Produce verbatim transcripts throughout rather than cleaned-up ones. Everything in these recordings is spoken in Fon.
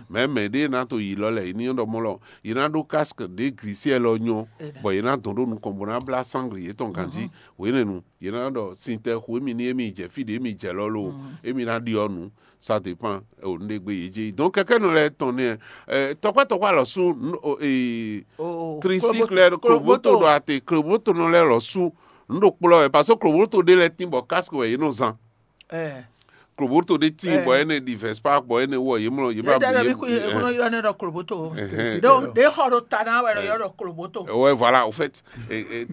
Mɛ mɛ ɖé ná to yi lɔ lɛ, yě ní ɖɔ mɔ lɔ, yě ná ɖó casque ɖě glisiɛ lɔ nyɔ, bɔ yě ná dɔn ɖó nukɔn bó ná blá sangli yětɔn ganjí. Hwenɛ́nu yě ná ɖɔ sintɛ xo émi ní émi jɛ fí ɖě émi jɛ lɔ lo, émi ná ɖiɔ nǔ. Ça dépend o nɖé gbé yě jɛ yi. Donc kɛkɛ́nɔ lɛ́ɛ tɔn nɛ, tɔkpá tɔkpá lɔ sú tricycle lɛ́ɛ, kloboto ɖɔ ate kloboto nɔ lɛ́ɛ lɔ sú nǔ ɖo kplɔ́ wɛ, parce que kloboto ɖé lɛ́ɛ tín bɔ casque wɛ yě nɔ zán. Kloboto ɖé tíin bɔ énɛ́ ɖi Vespa bɔ énɛ́ wɔ yě mlɔ yě ba bi yě. Kúnɔ ylɔ́ nɛ ɖɔ kloboto. Donc ɖé xɔ ɖo ta ná wɛ ɖɔ ylɔ́ ɖɔ kloboto. Ouais, voilà, au fait,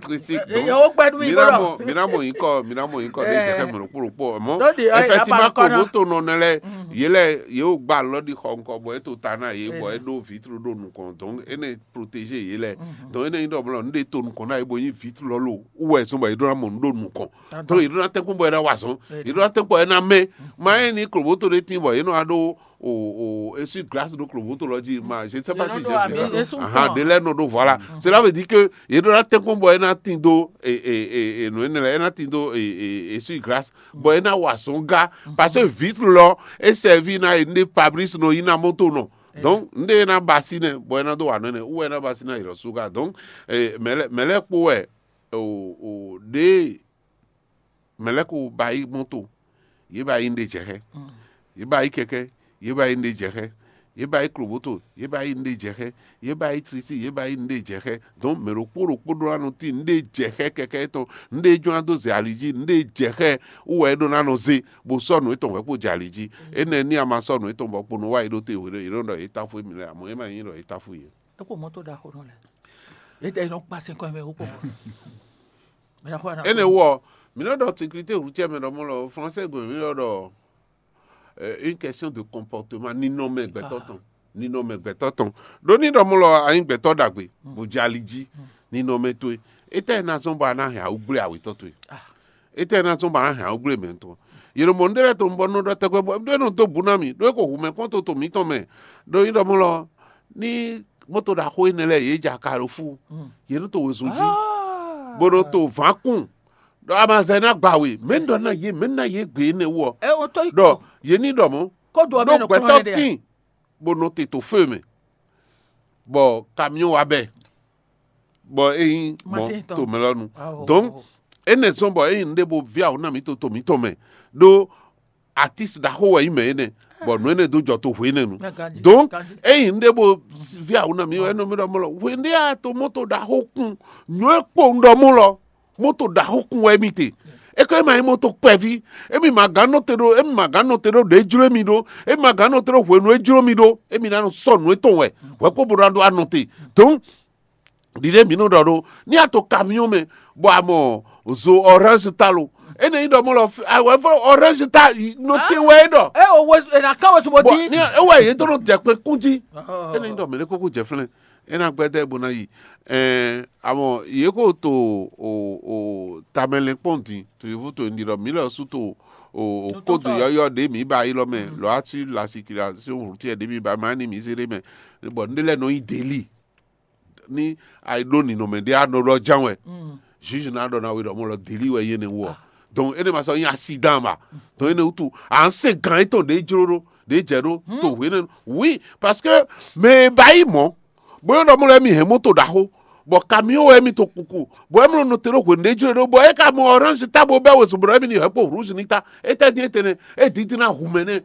tricycle. Yewo gbɛɖu mi gbɔdɔ. Mí ná mɔ nyíkɔ mí ná mɔ nyíkɔ ɖé jɛ xɛ mɛ ɖokpó ɖokpó mɔ. Effectivement, kloboto nɔ nɛ lɛ yé lɛ yé wò gba lɔ ɖi xɔ ŋkɔ bɔ é to ta ná yé bɔ é ɖó vitre ɖó nukɔn, donc énɛ́ protéger yé lɛ. Donc énɛ́ nyí ɖɔ mlɔ nu ɖé to nukɔn ná yé bo nyí vitre lɔ lo wú wɛ zɔn bɔ yé ɖó ná mɔ nu ɖó nukɔn. Donc yě ɖó ná tɛ́nkpɔ́n bɔ é ná wa azɔn, yě ɖó ná tɛ́nkpɔ́n bɔ é ná mɛ́. Ma é ní kloboto ɖé tíin bɔ yě nɔ wá ɖó o o essuie glace ɖó kloboto lɔ jí ma, je ne sais pas si j'ai vu ça. Ahan, ɖé lɛ́ɛ nɔ ɖó, voilà. Cela veut dire que yě ɖó ná tɛ́nkpɔ́n bɔ é ná tín dó e e e nǔ énɛ́ lɛ́ɛ, é ná tín dó e e essuie glace bɔ é ná wa azɔn gá, parce que vitre lɔ é sɛví ná e nɖé pabris nɔ yí ná mɔto nɔ. Donc nɖé é ná ba sí nɛ bɔ é ná dó wa nɔ énɛ́ wú wɛ é ná ba sí ná yi lɔ sú gá. Donc mɛ lɛ́ɛ mɛ lɛ́ɛ kpó wɛ o o ɖěe mɛ lɛ́ɛ ko ba yí mɔto, yě ba yí nɖé jɛ xɛ, yě ba yí kɛkɛ, yě ba yí nɖé jɛ xɛ, yě ba yí kloboto, yě ba yí nɖé jɛ xɛ, yě ba yí trisi, yě ba yí nɖé jɛ xɛ. Donc mɛ ɖokpó ɖokpó ɖó ná nɔ tín nɖé jɛ xɛ kɛkɛ tɔn, nɖé jɔ́n ná dó zɛ ali jí, nɖé jɛ xɛ wú wɛ é ɖó ná nɔ zé bó sɔ́ nǔ étɔn hwɛ̌ kpo jɛ ali jí. Énɛ́ ní a ma sɔ́ nǔ étɔn bɔ kpo nɔ wá yě ɖó te hwě ɖɔ yě nɔ ɖɔ yě táfú émi lɛ́ɛ, amɔ̌ é ma nyí ɖɔ yé táfú yě. É kpo mɔto ɖaxó nɔ lɛ. Yě tɛ nɔ kpa sɛn kɔn mɛ wú kpɔkpɔ. Énɛ́ wɔ mǐ nɔ ɖɔ sécurité routière mɛ ɖɔ mɔ lɔ français gɔn mǐ nɔ ɖɔ une question de comportement, ninɔmɛ gbɛtɔ́ tɔn. Ninɔmɛ gbɛtɔ́ tɔn. Ɖó ní ɖɔ mɔ lɔ a nyí gbɛtɔ́ ɖagbe bó jɛ ali jí, ninɔmɛ towe, étɛ́ ná zɔ́n bɔ a ná hɛn awúgblé awětɔ́ towe? Étɛ́ ná zɔ́n bɔ a ná hɛn awúgblé mɛ tɔn? Yě nɔ mɔ nú ɖé lɛ́ɛ tɔn bɔ nɔ ɖɔ tɛgbɛ bɔ ɖé nɔ dó bǔ ná mì ɖó é ko hu mɛ kpɔ́n to tɔn mǐtɔn mɛ. Ɖó ní ɖɔ mɔ lɔ ní mɔto ɖaxó énɛ́ lɛ́ɛ yě ja ka ɖo fú, yě nɔ to wezun jí, bó nɔ to vǎkún, ɖɔ amazɛ ná gba we, mɛ ná yé mɛ ná yé gbe énɛ́ wú ɔ. Ɖɔ yě ní ɖɔ mɔ̌, ɖó gbɛtɔ́ tíin bó nɔ te to fó e mɛ, bɔ kamiɔ́n wá bɛ, bɔ é nyí mɔ to mɛ lɔ nu. Donc énɛ́ zɔ́n bɔ é nyí nǔɖé bo ví awǔ ná mǐ to to mǐtɔn mɛ, ɖó atis ɖaxó wɛ nyí mɛ énɛ́, bɔ nǔ énɛ́ dó jɔ to hwe énɛ́ nu. Donc é nyí nǔɖé bo ví awǔ ná mǐ wɛ é nɔ mì ɖɔ mɔ lɔ hwe ndé a to mɔto ɖaxó kun nyɔ é kpowun ɖɔ mɔ lɔ mɔto ɖaxó kun wɛ émí te. É ko é ma nyí mɔto kpɛví, émí ma gán nɔ te ɖó émí ma gán nɔ te ɖó ɖě jló émí ɖó, émí ma gán nɔ te ɖó hwenu é jló mì ɖó, émí ná nɔ sɔ nǔ étɔn wɛ hwɛ kpó bo ná ɖó anɔ te. Donc ɖiɖe mǐ nɔ ɖɔ ɖó ní a to kamiɔn mɛ bɔ a mɔ zo orange ta lo, énɛ́ nyí ɖɔ mɔ lɔ awɛvɔ orange ta nɔ te wɛ é ɖɔ. Ɛ o wɛ ɛ na ká wɛ sɔbɔ Bɔ dín. Ní ewɔ yě dó nɔ dɛ kpe kún jí. Énɛ́ nyí ɖɔ mɛ ɖé kókó jɛ flɛ́n é ná gbɛdɛ bó ná yi. Ɛɛ amɔ yě kó to o o tamɛlɛnkpɔn dín to yevu to ní ɖɔ mǐ lɛ sú to o o Nutɔn kódo sɔ. Yɔyɔ ɖé mǐ ba yi lɔ mɛ lɔ ati la circulation routière ɖé mǐ ba ma ní mǐ zé ɖé mɛ bɔ ní lɛ nɔ nyi deli ní ayi ɖó ninɔmɛ ɖé anɔ ɖɔ ján wɛ. Juge ná ɖɔ ná we ɖɔ mɔ lɔ deli wɛ yé ne wɔ. Donc énɛ́ ma sɔ nyi accident ma. Donc énɛ́ wutu à ń se gan étɔn ɖé jló ɖó ɖé jɛ ɖó to hwe nɛ. Oui, parce que mɛ e ba yi mɔ bóyá ɖɔ mɔ lɛ mi hɛn moto ɖaxó bɔ camion wɛ mi to kuku bɔ ɛ mlɔ nɔ te ɖó hwe ɖé jló ɖó bɔ é ka mɔ orange ta bo bɛ wezun bɔ ɛ mi ni hɛ kpo rouge ni ta. Étɛ dín étɛnɛ é dídí ná hu mɛ nɛ.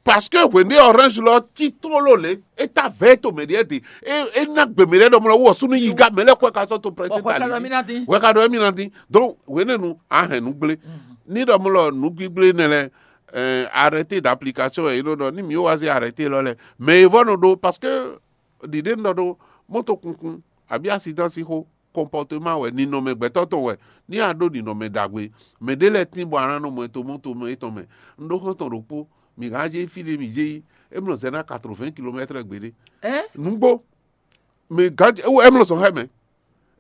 Parce que hwende orange lɔ ti tlóló lě é ta vɛ to mɛ ɖiɛ de é é ná gbe mɛ ɖɛ ɖɔ mlɔ wɔ sunu yi ga mɛ lɛ kɔ ka sɔ to prɛtɛ ta li wɛ ka ɖɔ émi na dín. Donc hwenɛnu a hɛn nu gblé ní ɖɔ mlɔ nu gbígblé nɛ lɛ arrêté d'application yɛ yě nɔ ɖɔ ní mi wá zé arrêté lɔ lɛ mɛ e vɔ nɔ ɖó parce que ɖiɖe nɔ ɖó moto kunkun àbí accident si xó comportement wɛ ninɔmɛ gbɛtɔ́ tɔn wɛ ní a ɖó ninɔmɛ ɖagbe. Mɛ ɖé lɛ́ɛ tín bɔ a ná nɔ mɔ ɛ to mɔto mɛ étɔn mɛ. Un ɖó xɔ́ntɔn ɖokpó mi hán jɛ fí ɖé mi jɛ yi é mlɔ zɛ ná quatre-vingts kilomètres gbeɖé. Nǔgbó mi gán é mlɔ zɔn xɛ mɛ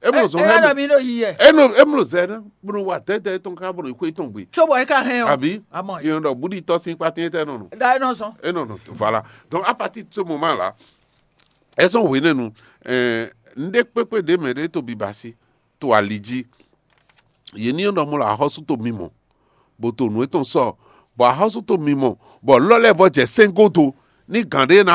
é mlɔ zɔn xɛ mɛ. Eno é mlɔ zɛ ná bó nɔ wa dɛdɛ étɔn ká bó nɔ yi xwé étɔn gbe. Tso bɔ é ka hɛn o. Àbí amɔ yìí nɔ ɖɔ búɖi tɔ sín kpátín étɛ nɔ nɔ. Da é nɔ zɔn. É nɔ nɔ voilà. Donc à partir de ce moment là ɛ sɔn hwenɛnu. Ɛɛ nɖé kpékpé ɖé mɛ ɖé to bibasi to ali jí. Yě ní nɔ mɔ lɔ axɔ́sú to mimɔ bó to nǔ étɔn sɔ bɔ axɔ́sú to mimɔ bɔ lɔ́ lɛ́ɛ vɔ jɛ sɛ́n godo ní gǎn ɖé ná